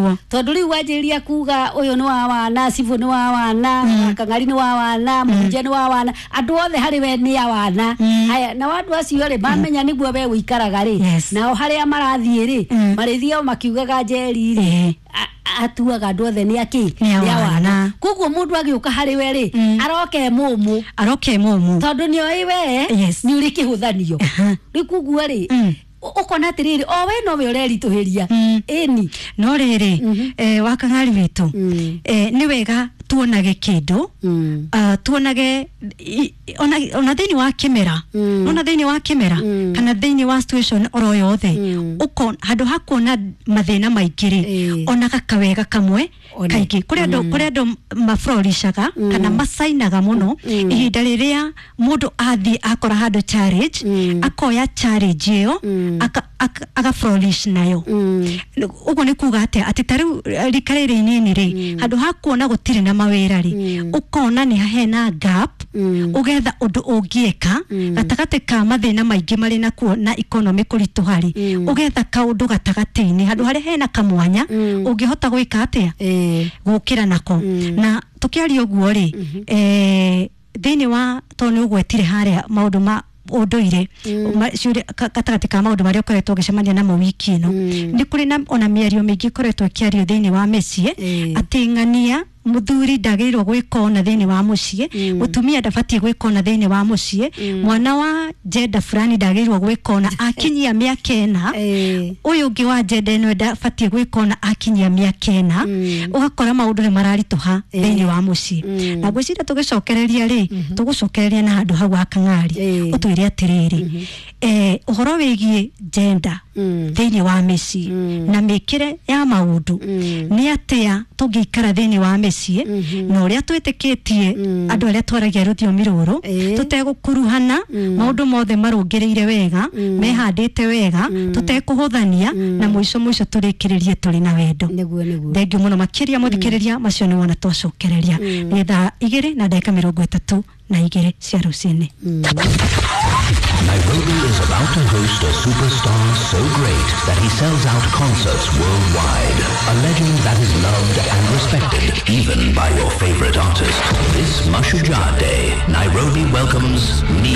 Nĩguo. Tondũ rĩu wanjĩrĩria kuga ũyũ nĩ wa wana, cibũ nĩ wa wana, kang'ari nĩ wa wana, mũhunjia nĩ wa wana, andũ othe harĩ we nĩ a wana. Haya, nao andũ acio rĩ, mamenya nĩguo we ũikaraga rĩ, nao harĩa marathiĩ rĩ, marĩthiao makiugaga Njeri rĩ, atuaga andũ othe nĩ akĩ? Nĩ Nĩ a a wana. wana. Koguo mũndũ agĩũka harĩ we rĩ, aroka e mũmũ, Aroke mũmũ. tondũ nĩ oĩ we nĩ ũrĩ kĩhũthanio. Rĩu koguo rĩ, ũkona atĩrĩrĩ, o we nowe ũreritũhĩria. Ĩni. No rĩrĩ, wakang'ari witũ, nĩ wega tuonage kĩndũ, tuonage ona thĩinĩ wa kĩmera, ona thĩinĩ wa kĩmera kana thĩinĩ wa situation oro yothe, handũ ha kuona mathĩna maingĩ rĩ, onaga kawega kamwe. One. Kaingĩ kũrĩ andũ, kũrĩ andũ maflorishaga kana macainaga mũno ihinda rĩrĩa mũndũ athiĩ akora handũ challenge, akoya challenge ĩyo aga flourish nayo. Ũguo nĩ kuga atĩa? Atĩ ta rĩu, rika rĩrĩ inini rĩ, handũ ha kuona gũtirĩ na mawĩra rĩ, ũkona nĩ hena gap, ũgetha ũndũ ũngĩeka gatagatĩ ka mathĩna maingĩ marĩ nakuo na economy kũritũha rĩ, ũgetha kaũndũ gatagatĩ-inĩ handũ harĩa hena kamwanya ũngĩhota gwĩka atĩa, gũkĩra nako. Na tũkĩaria ũguo rĩ, thĩinĩ wa tondũ nĩ ũgwetire harĩa maũndũ ma ũndũire, gatagatĩ ka maũndũ marĩa ũkoretwo ũgĩcemania namo wiki ĩno, nĩ kũrĩ na ona mĩario mĩingĩ ĩkoretwo ĩkĩario thĩinĩ wa mĩciĩ, atĩ ng'ania mũthuri ndagĩrĩirwo gwĩka ona thĩinĩ wa mũciĩ, mũtumia ndabatiĩ gwĩka ona thĩinĩ wa mũciĩ, mwana wa jenda fulani ndagĩrĩirwo gwĩka ona akinyia mĩaka ĩna, ũyũ ũngĩ wa jenda ĩno ndabatiĩ gwĩka ona akinyia mĩaka ĩna. Ũgakora maũndũ nĩ mararitũha thĩinĩ wa mũciĩ. Na ngwĩciria tũgĩcokereria rĩ, tũgũcokereria na handũ hau wakang'ari, ũtwĩre atĩrĩrĩ, ũhoro wĩgiĩ gender thĩinĩ wa mĩciĩ na mĩkĩre ya maũndũ, nĩ atĩa tũngĩikara thĩinĩ wa mĩciĩ na ũrĩa twĩtĩkĩtie andũ arĩa twaragia rũthiomi rũrũ, tũtegũkuruhana, maũndũ mothe marũngĩrĩire wega, mehandĩte wega, tũtekũhũthania, na mũico mũico tũrĩkĩrĩrie tũrĩ na wendo. Nĩguo, nĩguo. Thengiũ mũno makĩria mũthikĩrĩria, macio nĩ wona twacokereria. Nĩ thaa 2:32 cia rũcinĩ. Nairobi is about to host a superstar so great that he sells out concerts worldwide. A legend that is loved and respected even by your favorite artist. This Mashujaa Day, Nairobi welcomes